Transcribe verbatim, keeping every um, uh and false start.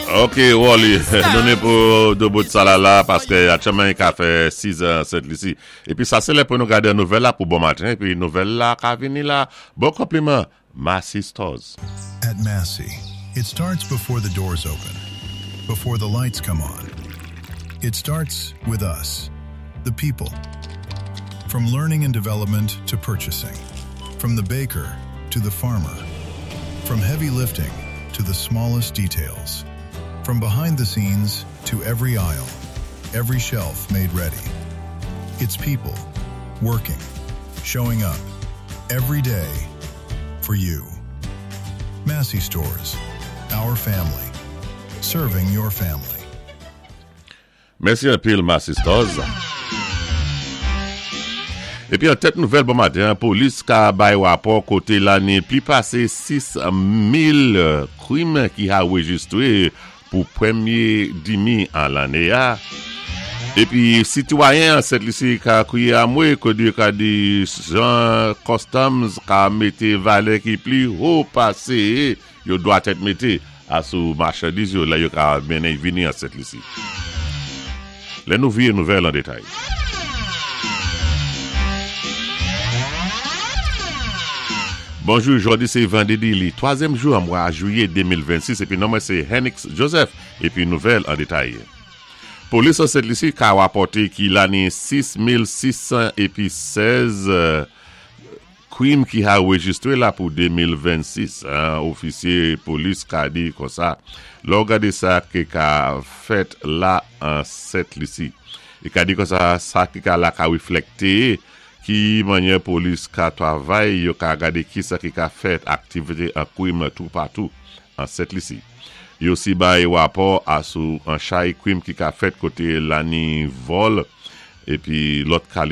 Ok, Wally, nou ni pou dé bout sa la la, paské aktyèlman i ka fè sis an Sent Lisi. Épi sa sé lè pou nou gadé nouvèl la pou bon maten, épi nouvèl la ka vini la. Bon konpliman, Massy Stores. At Massy, it starts before the doors open, before the lights come on. It starts with us, the people. From learning and development to purchasing, from the baker to the farmer, from heavy lifting to the smallest details, from behind the scenes to every aisle, every shelf made ready. It's people working, showing up every day for you. Massy Stores, our family, serving your family. Mèsi anpil, Massy Stores. Épi an tèt nouvèl bon maten, polis ka bay wapò koté la ni pli pasé sis mil kwim ki anwéjistré pou pwémyé dimi an lanné a. Épi sitwayen an Sent Lisi ka kwiyé anmwé koté ka di jan Customs ka mété valè ki pli wo pasé yo dwa tèt mété asou machandiz yo la yo ka mennen vini an Sent Lisi. Lè nou viyé nouvèl an détay. Bonjou, jòdi sé vandédi li twazyèm jou an mwa jwiyé de mil vennsis épi non mwen sé Henix Joseph épi nouvèl an détay. Polis an Sent Lisi ka wapòté ki la ni sis mil sis san épi sèz kwim ki anwéjistré la pou de mil vennsis. Ofisyé polis ka di konsa, lò gadé sa ki ka fèt la an Sent Lisi. I ka di konsa sa ki ka la ka wiflèkté ki mannyè polis ka twavay, yo ka gadé ki sa ki ka fèt aktivité an kwim tou patou an Sent Lisi. Yo si bay wapò asou an chay kwim ki ka fèt koté la ni vòl épi lòt kalité.